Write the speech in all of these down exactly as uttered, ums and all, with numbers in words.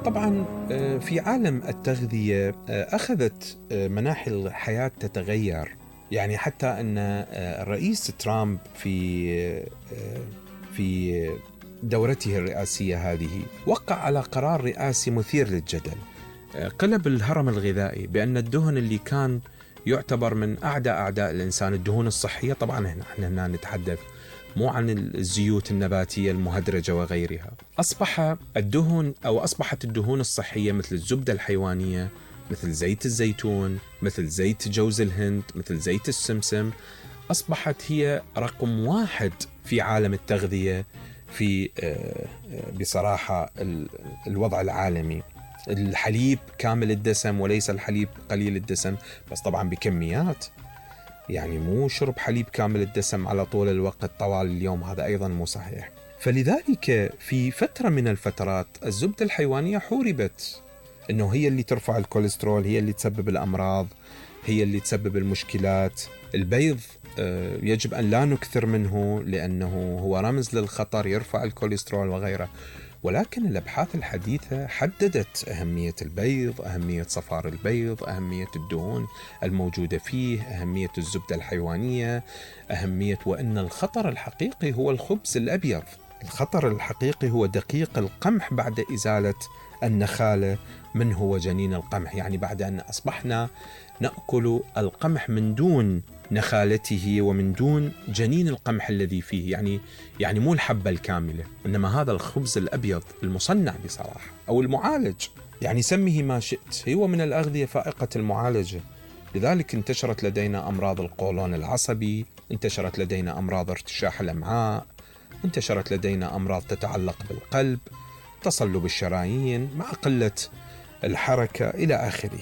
طبعا في عالم التغذية أخذت مناحي الحياة تتغير، يعني حتى أن الرئيس ترامب في في دورته الرئاسية هذه وقع على قرار رئاسي مثير للجدل. قلب الهرم الغذائي بأن الدهن اللي كان يعتبر من أعداء أعداء الإنسان، الدهون الصحية، طبعا هنا احنا نتحدث مو عن الزيوت النباتية المهدرجة وغيرها، أصبح الدهن أو أصبحت الدهون الصحية مثل الزبدة الحيوانية، مثل زيت الزيتون، مثل زيت جوز الهند، مثل زيت السمسم، أصبحت هي رقم واحد في عالم التغذية في بصراحة الوضع العالمي. الحليب كامل الدسم وليس الحليب قليل الدسم، بس طبعا بكميات، يعني مو شرب حليب كامل الدسم على طول الوقت طوال اليوم، هذا أيضا مو صحيح. فلذلك في فترة من الفترات الزبدة الحيوانية حوربت، إنه هي اللي ترفع الكوليسترول، هي اللي تسبب الأمراض، هي اللي تسبب المشكلات. البيض يجب أن لا نكثر منه لأنه هو رمز للخطر، يرفع الكوليسترول وغيره. ولكن الأبحاث الحديثة حددت أهمية البيض، أهمية صفار البيض، أهمية الدهون الموجودة فيه، أهمية الزبدة الحيوانية، أهمية وأن الخطر الحقيقي هو الخبز الأبيض. الخطر الحقيقي هو دقيق القمح بعد إزالة النخالة من هو جنين القمح، يعني بعد أن أصبحنا نأكل القمح من دون نخالته ومن دون جنين القمح الذي فيه، يعني يعني مو الحبة الكاملة، إنما هذا الخبز الأبيض المصنع بصراحة أو المعالج، يعني سميه ما شئت، هو من الأغذية فائقة المعالجة. لذلك انتشرت لدينا أمراض القولون العصبي، انتشرت لدينا أمراض ارتشاح الأمعاء، انتشرت لدينا أمراض تتعلق بالقلب، تصلب الشرايين مع قلة الحركة إلى آخره.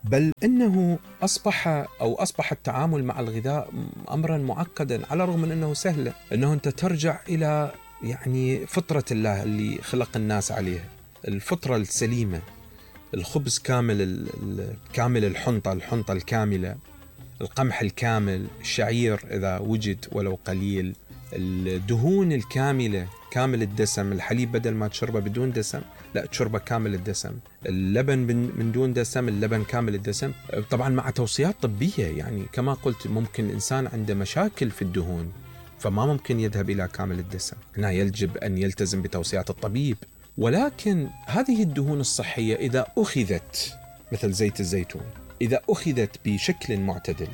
بل إنه أصبح أو أصبح التعامل مع الغذاء أمرا معقدا، على الرغم من أنه سهل، أنه أنت ترجع إلى يعني فطرة الله اللي خلق الناس عليها، الفطرة السليمة، الخبز كامل كامل الحنطة، الحنطة الكاملة، القمح الكامل، الشعير إذا وجد ولو قليل، الدهون الكاملة كامل الدسم، الحليب بدل ما تشربه بدون دسم لا تشربه كامل الدسم، اللبن من دون دسم، اللبن كامل الدسم، طبعا مع توصيات طبية. يعني كما قلت ممكن الإنسان عنده مشاكل في الدهون فما ممكن يذهب إلى كامل الدسم، هنا يجب أن يلتزم بتوصيات الطبيب. ولكن هذه الدهون الصحية إذا أخذت مثل زيت الزيتون، إذا أخذت بشكل معتدل،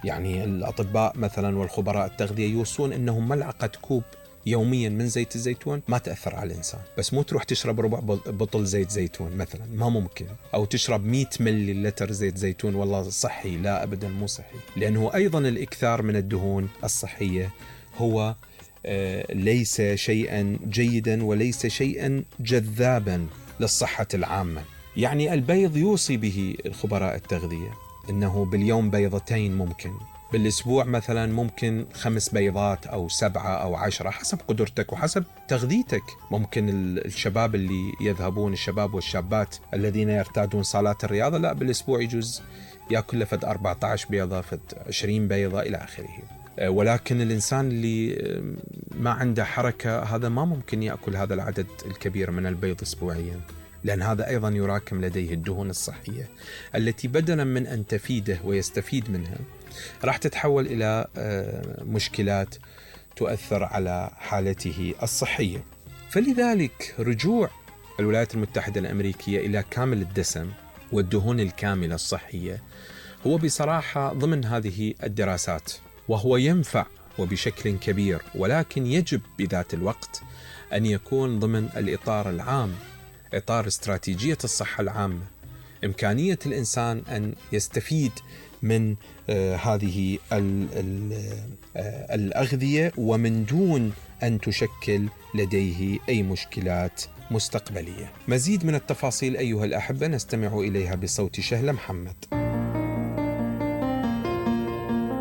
يعني الأطباء مثلا والخبراء التغذية يوصون أنهم ملعقة كوب يوميا من زيت الزيتون ما تأثر على الإنسان، بس مو تروح تشرب ربع بطل زيت زيتون مثلا، ما ممكن، أو تشرب مئة ملي لتر زيت زيتون والله صحي، لا أبدا مو صحي، لأنه أيضا الإكثار من الدهون الصحية هو آه ليس شيئا جيدا وليس شيئا جذابا للصحة العامة. يعني البيض يوصي به الخبراء التغذية إنه باليوم بيضتين، ممكن بالأسبوع مثلا ممكن خمس بيضات أو سبعة أو عشرة حسب قدرتك وحسب تغذيتك. ممكن الشباب اللي يذهبون، الشباب والشابات الذين يرتادون صالات الرياضة، لا بالأسبوع يجوز يأكل لفد أربعة عشر بيضة، فد عشرين بيضة إلى آخره. ولكن الإنسان اللي ما عنده حركة هذا ما ممكن يأكل هذا العدد الكبير من البيض أسبوعيا، لأن هذا أيضا يراكم لديه الدهون الصحية التي بدلا من أن تفيده ويستفيد منها راح تتحول إلى مشكلات تؤثر على حالته الصحية. فلذلك رجوع الولايات المتحدة الأمريكية إلى كامل الدسم والدهون الكاملة الصحية هو بصراحة ضمن هذه الدراسات، وهو ينفع وبشكل كبير، ولكن يجب بذات الوقت أن يكون ضمن الإطار العام، إطار استراتيجية الصحة العامة، إمكانية الإنسان أن يستفيد من آه هذه ال ال آه الأغذية ومن دون أن تشكل لديه أي مشكلات مستقبلية. مزيد من التفاصيل أيها الأحبة نستمع إليها بصوت شهلة محمد.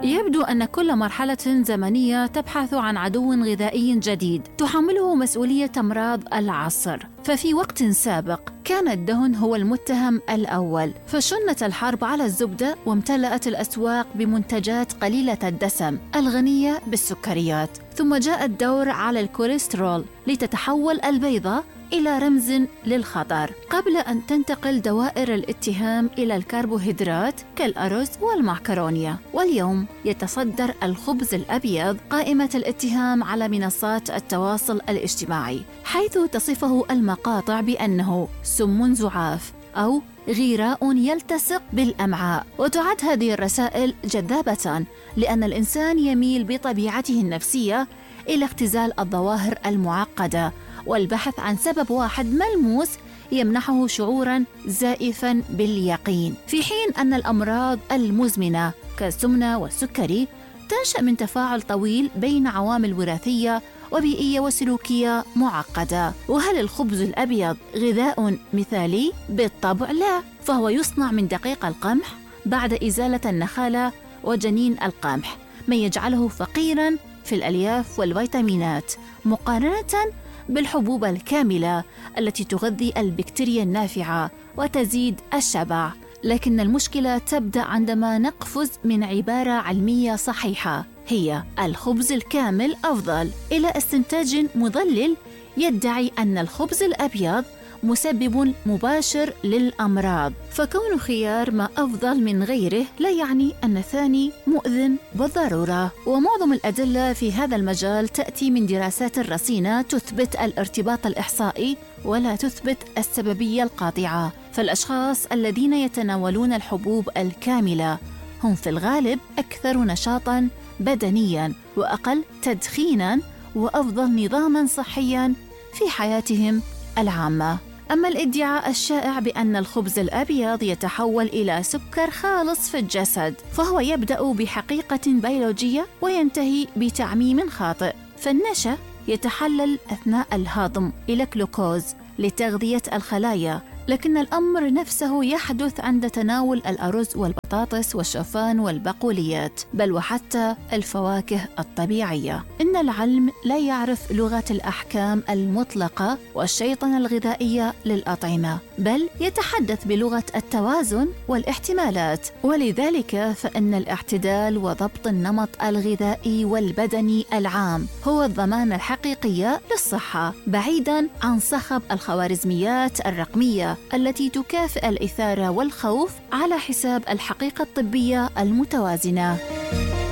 يبدو أن كل مرحلة زمنية تبحث عن عدو غذائي جديد تحمله مسؤولية أمراض العصر. ففي وقت سابق كان الدهن هو المتهم الأول، فشنت الحرب على الزبدة وامتلأت الأسواق بمنتجات قليلة الدسم الغنية بالسكريات. ثم جاء الدور على الكوليسترول لتتحول البيضة إلى رمز للخطر قبل أن تنتقل دوائر الاتهام إلى الكربوهيدرات كالأرز والمعكرونية. واليوم يتصدر الخبز الأبيض قائمة الاتهام على منصات التواصل الاجتماعي، حيث تصفه المقاطع بأنه سم زعاف أو غراء يلتصق بالأمعاء. وتعد هذه الرسائل جذابة لأن الإنسان يميل بطبيعته النفسية إلى اختزال الظواهر المعقدة والبحث عن سبب واحد ملموس يمنحه شعوراً زائفاً باليقين، في حين أن الأمراض المزمنة كالسمنة والسكري تنشأ من تفاعل طويل بين عوامل وراثية وبيئية وسلوكية معقدة. وهل الخبز الأبيض غذاء مثالي؟ بالطبع لا، فهو يصنع من دقيق القمح بعد إزالة النخالة وجنين القمح، ما يجعله فقيراً في الألياف والفيتامينات مقارنة بالحبوب الكاملة التي تغذي البكتيريا النافعة وتزيد الشبع. لكن المشكلة تبدأ عندما نقفز من عبارة علمية صحيحة هي الخبز الكامل أفضل إلى استنتاج مضلل يدعي أن الخبز الأبيض مسبب مباشر للأمراض. فكون خيار ما أفضل من غيره لا يعني أن الثاني مؤذن بالضرورة. ومعظم الأدلة في هذا المجال تأتي من دراسات رصينة تثبت الارتباط الإحصائي ولا تثبت السببية القاطعة. فالأشخاص الذين يتناولون الحبوب الكاملة هم في الغالب أكثر نشاطاً بدنياً وأقل تدخيناً وأفضل نظاماً صحياً في حياتهم العامة. أما الادعاء الشائع بأن الخبز الأبيض يتحول إلى سكر خالص في الجسد فهو يبدأ بحقيقة بيولوجية وينتهي بتعميم خاطئ. فالنشا يتحلل أثناء الهضم إلى جلوكوز لتغذية الخلايا، لكن الأمر نفسه يحدث عند تناول الأرز والبطاطس والشوفان والبقوليات بل وحتى الفواكه الطبيعية. إن العلم لا يعرف لغة الأحكام المطلقة والشيطنة الغذائية للأطعمة، بل يتحدث بلغة التوازن والاحتمالات. ولذلك فإن الاعتدال وضبط النمط الغذائي والبدني العام هو الضمان الحقيقي للصحة، بعيداً عن صخب الخوارزميات الرقمية التي تكافئ الإثارة والخوف على حساب الحقيقة الطبية المتوازنة.